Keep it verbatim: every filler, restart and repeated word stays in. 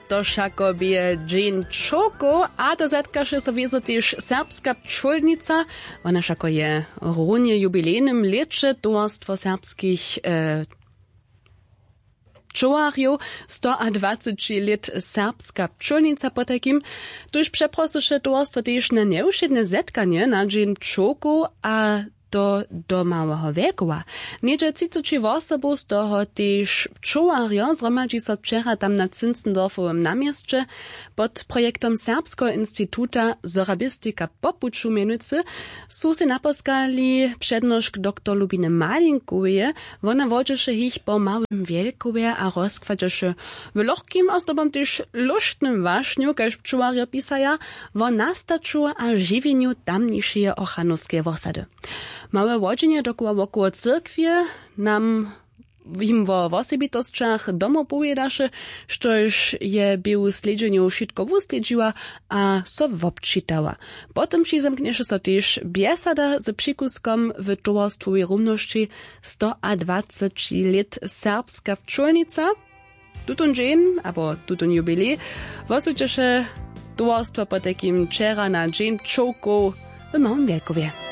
To wšako bě dźeń čołkow a to zetkaše so wězo tež serbska pčólnica. Wona wšako je runje w jubilejnym lěće towarstwo serbskich e, pčołarjow. Stoadwaceći lět serbska pčólnica potajkim, tuž přeprosyše towarstwo tež na njewšědne zetkanje na dźeń pčołkow a to do małeho wjelkowa. Něhdźe třiceći wosobow z toho tež pčołarjo zhromadźi so wčera tam na zinzendorfowym na měsće. Pod projektom serbskeho instituta sorabistika po puću mjenujcy su sej naposkali přednošk doktor lubiny malinkoweje. Wona wodźeše jich po małym wjelkowje a rozkładźeše w lochkim a zdobom tež lóštnym wašnju kaž pčołarjo pisaja, wo nastaću a žiwjenju tamnišeje ochanowskeje wosady. Małe wodźenje dokoła wokoło cyrkwje nam jim wo wosebitosćach domoł powědaše, štož je běhu slědźenjow wšitko wuslědźiła a so wobčitała. Potom přizamknješe so tež bjesada z přikuskom w towarstwowej rumnosći. Stoadwaceći lět serbska pčólnica tutón dźeń abo tutón jubilej woswjećeše towarstwo potajkim wčera na dźeń pčołkow w małym wjelkowje.